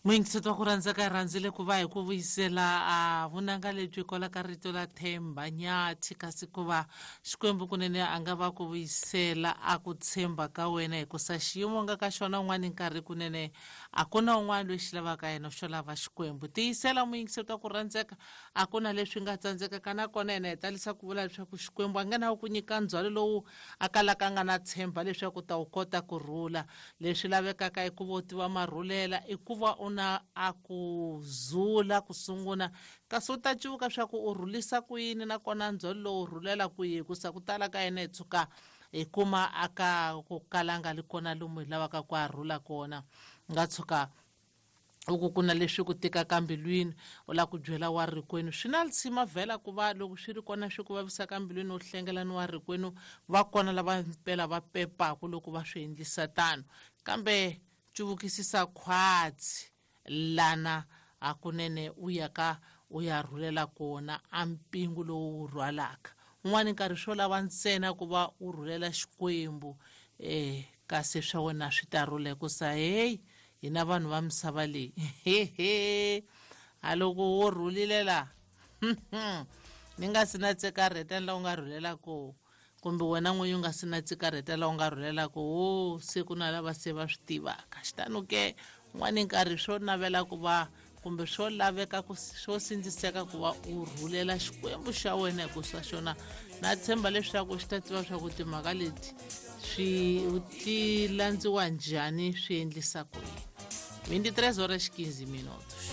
Muyingiseti wa ku rhandza ka rhandzile ku va hi ku vuyisela a vunanga lebyi kwala ka rito la Themba Nyathi, kasi ku va Xikwembu kunene a nga va ku vuyisela a ku tshemba ka wena, hikusa xiyimo nga ka xona un'wana nkarhi kunene a ku na un'wana loyi xi lavaka yena, xo lava Xikwembu. Tiyisela, muyingiseti wa ku rhandzeka, a ku na leswi nga tsandzekaka. Nakona yena hi talisa ku vula leswaku Xikwembu a nga na ku nyika ndzhwalo lowu a kalaka a nga na tshemba leswaku ta wu kota ku rhula. Leswi lavekaka i ku va u tiva marhulela, i ku va u na a ku zula ku sungula, kasi u ta civuka swa ku u rhulisa ku yini, nakona ndzhwalo lowu u rhulela kwihi, hikusa ku tala ka yena hi tshuka hi kuma aka ku kalanga li kona lomu hi lavaka ku a rhula kona. Nga tshuka u ku ku na leswi ku tikaka mbilwini, u lava ku byela wa rikwenu, swi na lisima vhela ku va loko swi ri kona swi ku vavisaka mbilwini u hlengela ni wa rikwenu. Va kona lava mpela va pepaku loko va swi endlisa tano, kambe cuvukisisa khwatsi lana hakunene u ya ka u ya rhulela kona a mpingu lowu wu rhwalaka. Un'wana nkarhi swo lava ntsena ku va u rhulela Xikwembu, kasi swa wena swi ta rhula, hikusa heyi, hina vanhu va misava leyi hehe, a loko wo rhulile la ni nga si na tsikarheta la u nga rhulela koho, kumbe wena n'winyi u nga si na tsikarheta la u nga rhulela koho, se ku na lava se va swi tivaka. Xitano ke un'wana nkarhi swo navela ku va kumbe swo laveka ku swo sindziseka ku va u rhulela Xikwembu xa wena, hikusa xona na tshemba leswaku xi ta tiva swa ku timhaka leti swi ti landziwa njhani, swi endlisa ku yini. 23 horas 15 minutos.